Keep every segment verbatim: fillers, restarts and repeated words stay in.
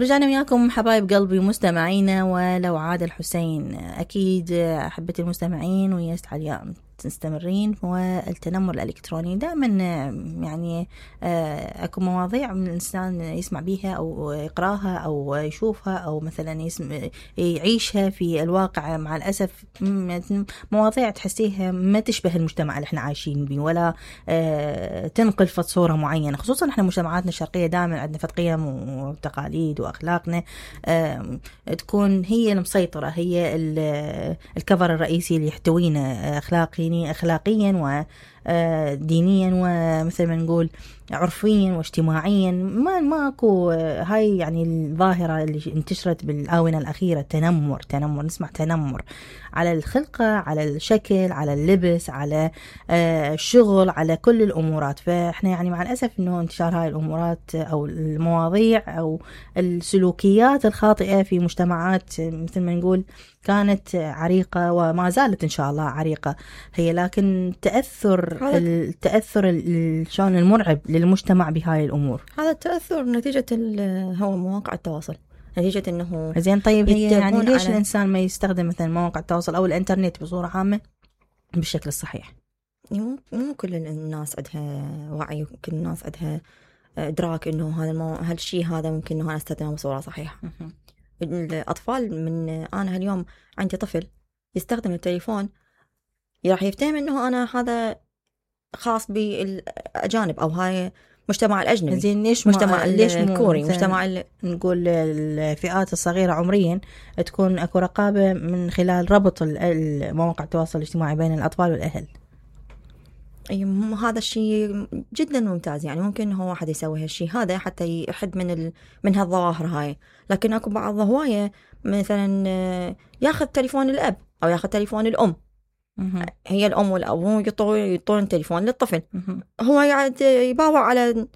رجعنا وياكم حبايب قلبي ومستمعينا. ولو عاد الحسين، أكيد أحبة المستمعين ويست علياء تستمرين. والتنمر الإلكتروني دائما يعني أكو مواضيع من الإنسان يسمع بيها أو يقراها أو يشوفها أو مثلا يسمع يعيشها في الواقع. مع الأسف مواضيع تحسيها ما تشبه المجتمع اللي احنا عايشين به، ولا تنقل فت صورة معينة. خصوصا احنا مجتمعاتنا الشرقية دائما عندنا فت قيم وتقاليد وأخلاقنا تكون هي المسيطرة، هي الكفر الرئيسي اللي يحتوينا أخلاقي أخلاقيا ودينيا ومثل ما نقول عرفيا واجتماعيا. ما ماكو هاي يعني الظاهرة اللي انتشرت بالآونة الأخيرة، تنمر تنمر نسمع تنمر على الخلقة، على الشكل، على اللبس، على الشغل، على كل الأمورات. فإحنا يعني مع الأسف إنه انتشار هاي الأمورات أو المواضيع أو السلوكيات الخاطئة في مجتمعات مثل ما نقول كانت عريقة وما زالت إن شاء الله عريقة هي، لكن تأثر التأثر شلون المرعب للمجتمع بهاي الأمور. هذا التأثر نتيجة هو مواقع التواصل، نتيجة إنه زين. طيب هي يعني ليش على... الإنسان ما يستخدم مثلا مواقع التواصل أو الإنترنت بصورة عامة بالشكل الصحيح؟ مو مو كل الناس عندها وعي، كل الناس عندها إدراك إنه هذا المو... هالشيء هذا ممكن إنه أنا أستخدمه بصورة صحيحة. الأطفال من أنا هاليوم عندي طفل يستخدم التليفون راح يفتهم إنه أنا هذا خاص بالأجانب أو هاي مجتمع الأجنبي. زين ليش مجتمع ليش الكوري مجتمع ال... نقول الفئات الصغيرة عمريا تكون أكو رقابة من خلال ربط المواقع التواصل الاجتماعي بين الأطفال والأهل؟ هذا الشيء جدا ممتاز، يعني ممكن هو واحد يسوي هالشيء هذا حتى يحد من ال... من هالظواهر هاي. لكن أكو بعض هواية مثلا ياخذ تليفون الأب أو ياخذ تليفون الأم، هي الأم والأب هو يطون تليفون للطفل، هو قاعد يباوع على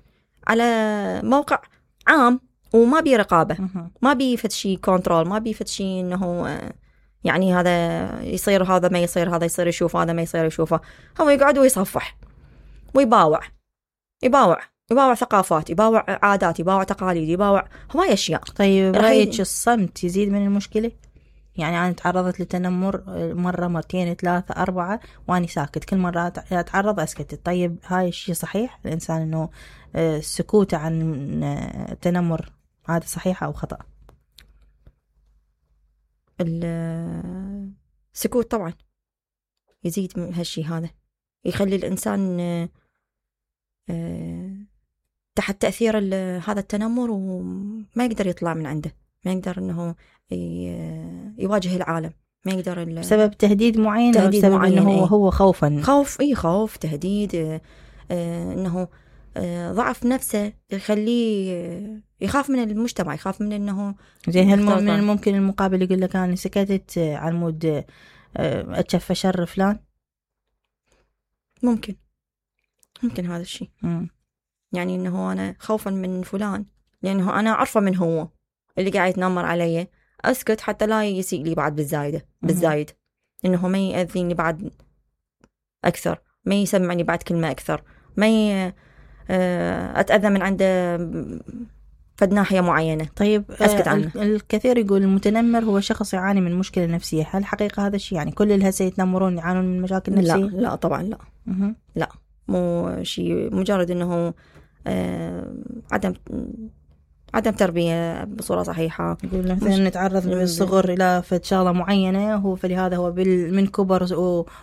على موقع عام وما بي رقابة، ما بي فد شيء كنترول، ما بي فد شيء إنه يعني هذا يصير هذا ما يصير، هذا يصير يشوف هذا ما يصير يشوفه. هو يقعد ويصفح ويباوع يباوع يباوع ثقافات، يباوع عادات، يباوع تقاليد، يباوع هواي أشياء. طيب رأيك الصمت يزيد من المشكلة؟ يعني أنا تعرضت لتنمر مرة مرتين ثلاثة أربعة وأنا ساكت، كل مرة أتعرض أسكت. طيب هاي الشيء صحيح الإنسان إنه السكوت عن التنمر هذا صحيح أو خطأ؟ السكوت طبعا يزيد من هالشيء هذا، يخلي الإنسان تحت تأثير هذا التنمر وما يقدر يطلع من عنده، ما يقدر إنه يواجه العالم، ما يقدر بسبب تهديد معين، تهديد بسبب معين إنه هو, هو خوفا خوف إيه خوف تهديد آه إنه آه ضعف نفسه يخليه يخاف من المجتمع، يخاف من إنه زي هل من الممكن المقابل يقول لك أنا سكتت على مود آه أتشفى شر فلان؟ ممكن ممكن هذا الشيء م. يعني إنه أنا خوفا من فلان لأنه أنا عارفة من هو اللي قاعد يتنمر علي، أسكت حتى لا يسيء لي بعد بالزايدة بالزايد، إنه ما يأذيني بعد أكثر، ما يسمعني بعد كلمة أكثر، ما ي... أتأذى من عنده فد ناحية معينة. طيب أسكت عنه. الكثير يقول المتنمر هو شخص يعاني من مشكلة نفسية، هل حقيقة هذا الشيء؟ يعني كل الهسه يتنمرون يعانون من مشاكل نفسية؟ لا لا طبعا لا مه. لا مو شيء مجرد إنه آه عدم عدم تربية بصورة صحيحة. يقول مثلا نتعرض من الصغر إلى فد شغلة معينة، هو فلهذا هو من كبر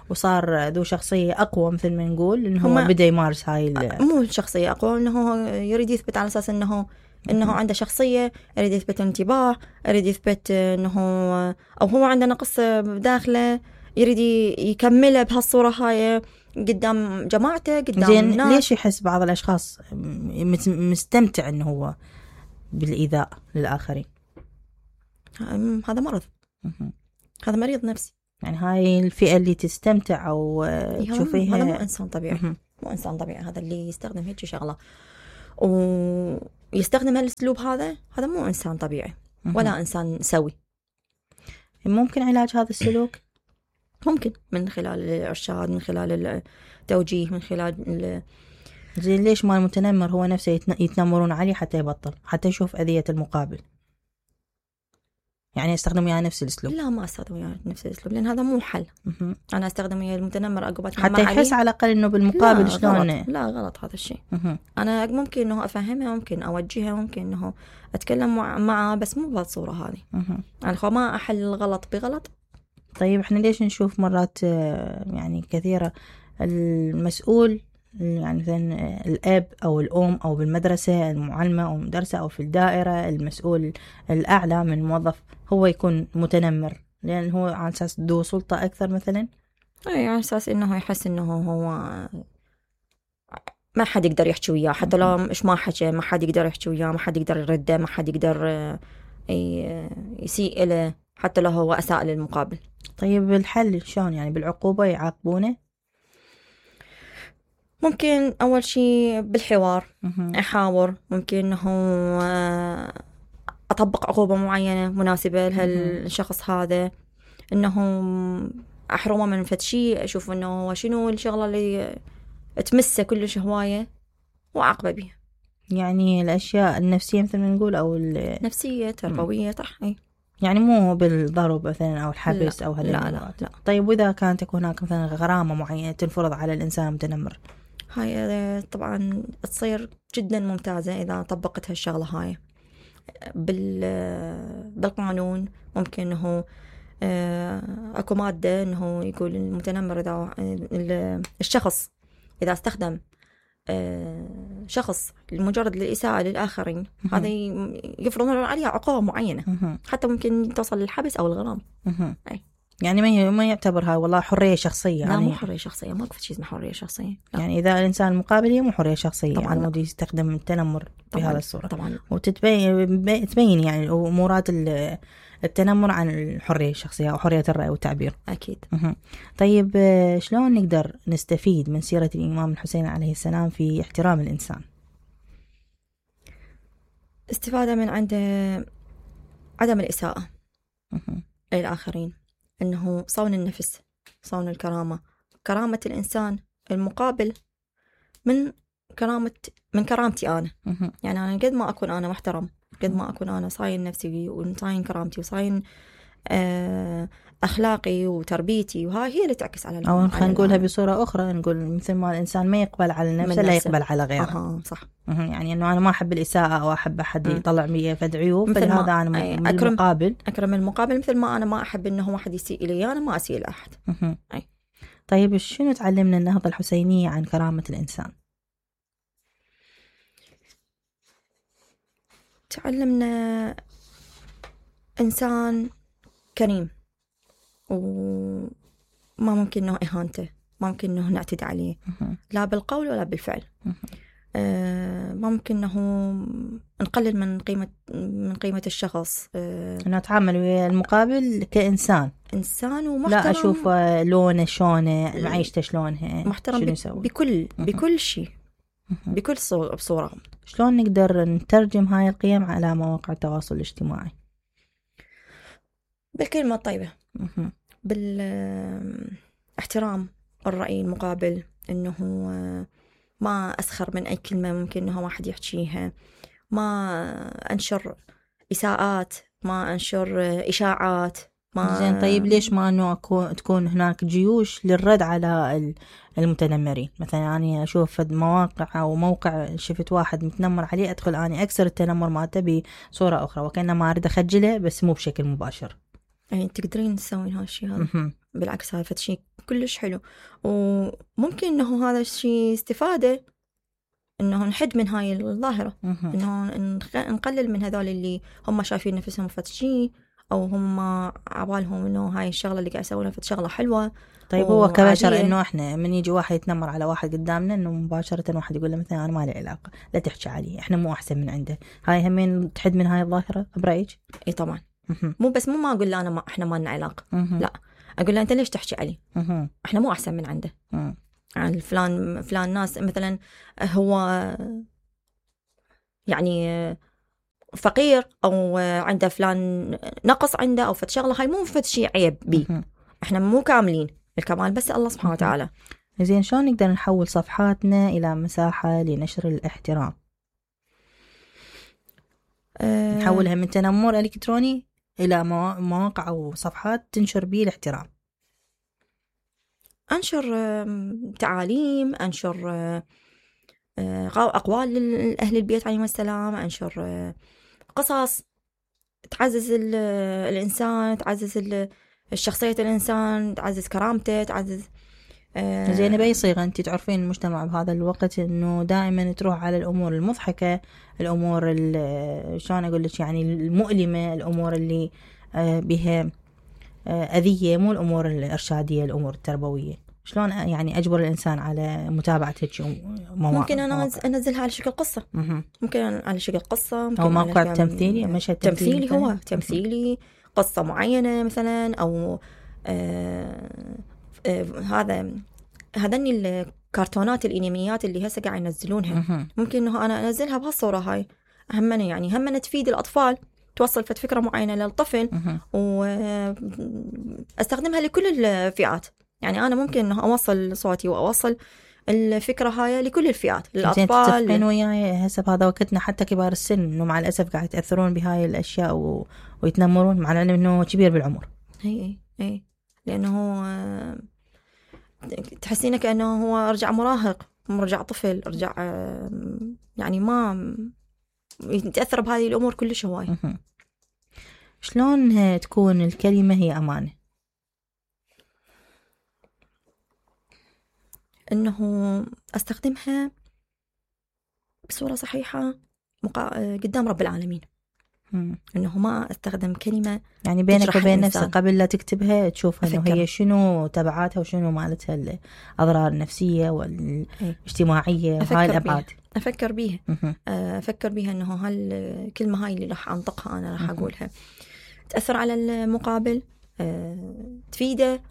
وصار ذو شخصية أقوى مثل ما نقول، إنه هو بدأ يمارس هاي مو شخصية أقوى، إنه يريد يثبت على أساس إنه إنه عنده شخصية، يريد يثبت انتباه، يريد يثبت إنه أو هو عنده نقص بداخله يريد يكمله بهالصورة هاي قدام جماعته قدام الناس. ليش يحس بعض الأشخاص مستمتع إنه هو بالإيذاء للآخرين؟ هذا مرض، هذا مريض نفسي. يعني هاي الفئة اللي تستمتع أو تشوفيها هذا مو إنسان طبيعي، مو إنسان طبيعي هذا اللي يستخدم هيك شغلة ويستخدم هالأسلوب هذا، هذا مو إنسان طبيعي ولا إنسان سوي. ممكن علاج هذا السلوك؟ ممكن من خلال الإرشاد، من خلال التوجيه، من خلال زي ليش ما المتنمر هو نفسه يتنمرون عليه حتى يبطل، حتى يشوف أذية المقابل؟ يعني استخدم وياه نفس الاسلوب؟ لا ما استخدم وياه نفس الاسلوب، لان هذا مو حل. مهم. انا استخدم ويا المتنمر عقب حتى يحس على الاقل انه بالمقابل لا شلون. غلط. لا غلط هذا الشيء. مهم. انا ممكن انه افهمها، ممكن اوجهها، ممكن انه اتكلم معه، بس مو بهالصوره هذه. مهم. انا خو ما احل الغلط بغلط. طيب احنا ليش نشوف مرات يعني كثيرة المسؤول، يعني مثلا الأب أو الأم أو بالمدرسة المعلمة أو المدرسة أو في الدائرة المسؤول الأعلى من الموظف هو يكون متنمر، لأن هو على أساس ذو سلطة أكثر مثلا؟ أي على أساس إنه يحس إنه هو ما حد يقدر يحكي وياه، حتى لو مش ما حكى ما حد يقدر يحكي وياه، ما حد يقدر يرده، ما حد يقدر يسيء له حتى لو هو أساء للمقابل. طيب الحل شلون؟ يعني بالعقوبة يعاقبونه؟ ممكن أول شيء بالحوار مهم. أحاور، ممكن إنه أطبق عقوبة معينة مناسبة لهالشخص هذا، إنه أحرمه من فد شيء، أشوف إنه شنو الشغلة اللي تمسه كلش هواية وأعاقبه بيها. يعني الأشياء النفسية مثل ما نقول أو نفسية تربوية صح. يعني مو بالضرب مثلا أو الحبس لا. أو هذا. لا, لا لا. طيب وإذا كانت تكون هناك مثلا غرامة معينة تنفرض على الإنسان المتنمر؟ هاي طبعا تصير جدا ممتازة إذا طبقت هالشغلة هاي بال بالقانون. ممكن إنه أكو مادة إنه يقول المتنمر إذا الشخص إذا استخدم شخص لمجرد الإساءة للآخرين هذا يفرضون عليها عقوبة معينة، حتى ممكن توصل للحبس أو الغرام. أي. يعني ما ما يعتبر هاي والله حرية شخصية؟ لا يعني مو حرية شخصية، ما في شيء اسمه حرية شخصية. لا. يعني إذا الإنسان المقابل هي مو حرية شخصية، طبعاً يعني لا. مودي يستخدم التنمر بهذا الصورة طبعا. وتتبين تبين يعني أمورات التنمر عن الحرية الشخصية أو حرية الرأي والتعبير. أكيد. مه. طيب شلون نقدر نستفيد من سيرة الإمام الحسين عليه السلام في احترام الإنسان؟ استفادة من عنده عدم الإساءة مه. للآخرين، إنه صون النفس، صون الكرامة، كرامة الإنسان المقابل من كرامة من كرامتي أنا. مه. يعني أنا قد ما أكون أنا محترم، قد ما أكون أنا صاين نفسي وصاين كرامتي وصاين أخلاقي وتربيتي، وهاي هي اللي تعكس على أو خلينا نقولها بصورة أخرى، نقول مثل ما الإنسان ما يقبل على نفسه لا يقبل على غيره. أها صح. يعني إنه أنا ما أحب الإساءة أو أحب أحد يطلع بي فد عيوب، فلهذا أنا من أكرم المقابل أكرم المقابل، مثل ما أنا ما أحب إنه واحد يسيء إلي أنا ما أسيء لأحد. أي. طيب شنو تعلمنا النهضة الحسينية عن كرامة الإنسان؟ تعلمنا إنسان كريم، وما ممكن إنه إهانته، ما ممكن إنه نعتدي عليه لا بالقول ولا بالفعل. آه ما ممكن إنه نقلل من قيمة من قيمة الشخص. آه إنه أتعامل ويا المقابل كإنسان إنسان ومحترم، لا أشوف لونه شلونه معيشته شلونها، محترم بكل بكل شيء بكل صورة. شلون نقدر نترجم هاي القيم على مواقع التواصل الاجتماعي؟ بالكلمة الطيبة، بالاحترام الرأي المقابل، إنه ما أسخر من أي كلمة ممكن إنه واحد يحكيها، ما أنشر إساءات، ما أنشر إشاعات. ما زين طيب ليش ما إنه تكون هناك جيوش للرد على المتنمرين؟ مثلا أنا يعني أشوف مواقع أو موقع شفت واحد متنمر عليه أدخل أنا أكسر التنمر مالته بصورة أخرى وكأنما أريد أخجله بس مو بشكل مباشر. يعني تقدرين تسوين هالشيء هذا. بالعكس هذا شيء كلش حلو، وممكن إنه هذا الشيء استفادة إنه نحد من هاي الظاهرة، إنه نقلل من هذول اللي هم شايفين نفسهم فتشي أو هم عبالهم إنه هاي الشغلة اللي قاعد يسوونها فت شغلة حلوة. طيب هو كبشر إنه إحنا من يجي واحد يتنمر على واحد قدامنا إنه مباشرة واحد يقول له مثلا أنا ما لي علاقة، لا تحكي عليه، إحنا مو أحسن من عنده، هاي همين تحد من هاي الظاهرة برأيك؟ إيه طبعا. مو بس مو ما أقول له أنا ما إحنا ما لنا علاقة، لا أقول له أنت ليش تحكي عليه؟ إحنا مو أحسن من عنده. يعني فلان فلان ناس مثلا هو يعني فقير أو عنده فلان نقص عنده أو فت شغلة، هاي مو فت شيء عيب بيه. إحنا مو كاملين، الكمال بس الله سبحانه وتعالى. زين شلون نقدر نحول صفحاتنا إلى مساحة لنشر الاحترام؟ أه نحولها من تنمر إلكتروني إلى مواقع أو صفحات تنشر به الاحترام؟ أنشر تعاليم، أنشر أقوال أهل البيت عليهم السلام، أنشر قصص تعزز الإنسان، تعزز الشخصية الإنسان، تعزز كرامته، تعزز زين. بأي صيغة؟ أنت تعرفين المجتمع بهذا الوقت إنه دائما تروح على الأمور المضحكة، الأمور شلون أقول لك يعني المؤلمة، الأمور اللي بها أذية، مو الأمور الإرشادية، الأمور التربوية. شلون يعني أجبر الإنسان على متابعة هيك مواقع؟ ممكن أنا أنزلها على شكل قصة، ممكن على شكل قصة، أو موقع تمثيلي، مشهد تمثيلي، تمثيلي هو تمثيلي قصة معينة مثلا، أو آه آه هذا هذني الكرتونات الانميات اللي هسه قاعد ينزلونها، ممكن انه انا انزلها بهالصوره هاي، همنا يعني همنا تفيد الاطفال، توصل فكره معينه للطفل، واستخدمها لكل الفئات. يعني انا ممكن انه اوصل صوتي واوصل الفكره هاي لكل الفئات، للاطفال. تتفقين وياي هسه بهذا وقتنا حتى كبار السن انه مع الاسف قاعد يتاثرون بهاي الاشياء و... ويتنمرون، مع العلم انه كبير بالعمر. اي اي لانه تحسينه كأنه هو رجع مراهق، رجع طفل، رجع يعني ما يتأثر بهذه الأمور كلش هواي. شلون تكون الكلمة هي أمانة؟ إنه أستخدمها بصورة صحيحة مقا... قدام رب العالمين. مم. إنه ما أستخدم كلمة يعني بينك وبين نفسك قبل لا تكتبها تشوفها إنه هي شنو تبعاتها وشنو مالتها الأضرار النفسية والاجتماعية وهاي الأبعاد. أفكر بيها أفكر بيها إنه هالكلمة هاي اللي راح أنطقها أنا راح أقولها تأثر على المقابل، تفيده،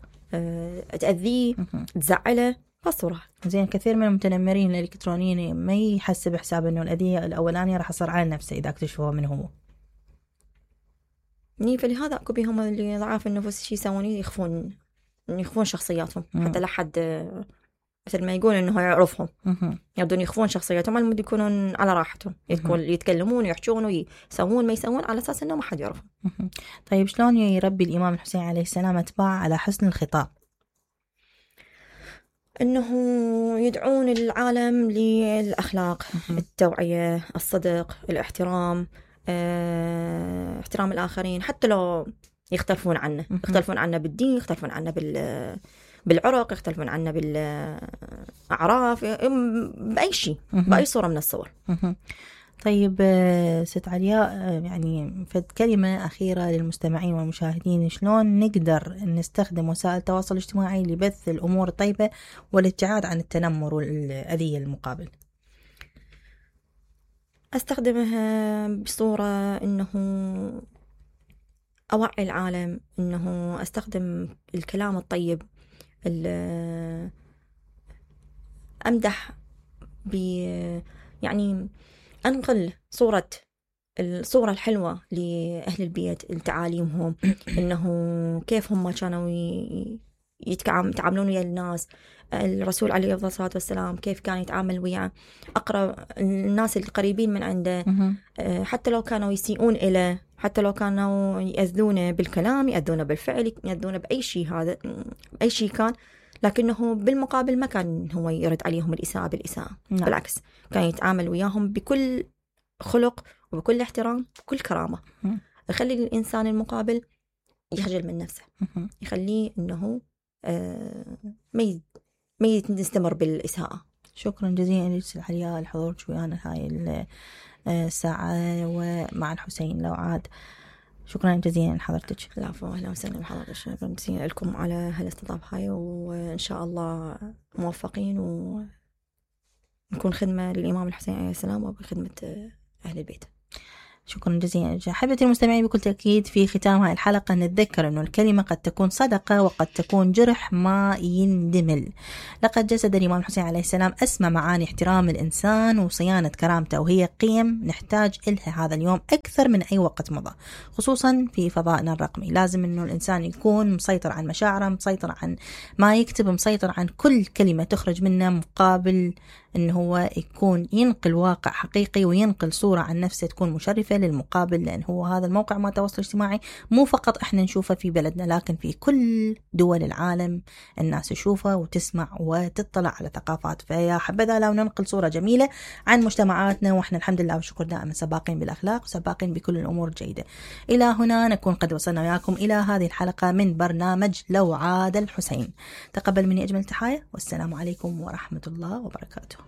تأذيه، تزعله، بصورة. زين. كثير من المتنمرين الإلكترونيين ما يحسب حساب إنه الأذية الأولانية راح يصير على نفسه إذا اكتشفوها من هو. ني فلهذا أكو بيهم اللي ضعاف النفوس شي يسوون يخفون يخفون شخصياتهم حتى لا حد مثل ما يقول إنه يعرفهم، يبدون يخفون شخصياتهم على مود يكونون على راحتهم، يتكلمون ويحجون ويسوون ما يسوون على أساس إنه ما حد يعرفهم. طيب شلون يربي الإمام الحسين عليه السلام أتباع على حسن الخطاب؟ إنه يدعون العالم للأخلاق، التوعية، الصدق، الاحترام، اه، احترام الآخرين حتى لو يختلفون عنه، يختلفون عنه بالدين، يختلفون عنه بال بالعرق، يختلفون عنه بالأعراف، بأي شيء، بأي صورة من الصور. طيب ست علياء، يعني فد كلمة أخيرة للمستمعين والمشاهدين، شلون نقدر نستخدم وسائل التواصل الاجتماعي لبث الأمور الطيبة والابتعاد عن التنمر والأذية المقابل؟ أستخدمها بصورة إنه أوعي العالم، إنه أستخدم الكلام الطيب، أمدح ب يعني أنقل صورة الصورة الحلوة لأهل البيت، لتعاليمهم، إنه كيف هم كانوا يتعاملون ويا الناس، الرسول عليه الصلاة والسلام كيف كان يتعامل ويا أقرب الناس القريبين من عنده، حتى لو كانوا يسيئون إليه، حتى لو كانوا يأذونه بالكلام، يأذونه بالفعل، يأذونه بأي شيء، هذا أي شيء كان، لكنه بالمقابل ما كان هو يرد عليهم الإساءة بالإساءة. نعم. بالعكس كان يتعامل وياهم بكل خلق وبكل احترام وكل كرامة. م. يخلي الإنسان المقابل يخجل من نفسه، م. يخليه إنه آه ما ما يستمر بالإساءة. شكرا جزيلا لك علياء الحضور ويانا هاي الساعة ومع الحسين لوعاد. شكرا جزيلا لحضرتك. العفو، اهلا وسهلا بحضرتك. شكرا جزيلا لكم على هالاستضافة هاي، وان شاء الله موفقين ونكون خدمة للإمام الحسين عليه السلام وبخدمة أهل البيت. شكرا جزيلا. أحبتي المستمعين، بكل تأكيد في ختام هاي الحلقة نتذكر أنه الكلمة قد تكون صدقة وقد تكون جرح ما يندمل. لقد جسد الإمام الحسين عليه السلام أسمى معاني احترام الإنسان وصيانة كرامته، وهي قيم نحتاج إلها هذا اليوم أكثر من أي وقت مضى، خصوصا في فضائنا الرقمي. لازم أنه الإنسان يكون مسيطر عن مشاعره، مسيطر عن ما يكتب، مسيطر عن كل كلمة تخرج منه، مقابل إنه هو يكون ينقل واقع حقيقي وينقل صورة عن نفسه تكون مشرفة للمقابل، لأن هو هذا الموقع ما التواصل الاجتماعي مو فقط إحنا نشوفه في بلدنا، لكن في كل دول العالم الناس تشوفه وتسمع وتطلع على ثقافات. فيا حبذا لو ننقل صورة جميلة عن مجتمعاتنا، وإحنا الحمد لله والشكر دائما سباقين بالأخلاق وسباقين بكل الأمور الجيدة. إلى هنا نكون قد وصلنا وياكم إلى هذه الحلقة من برنامج لو عاد الحسين. تقبل مني أجمل تحايا، والسلام عليكم ورحمة الله وبركاته.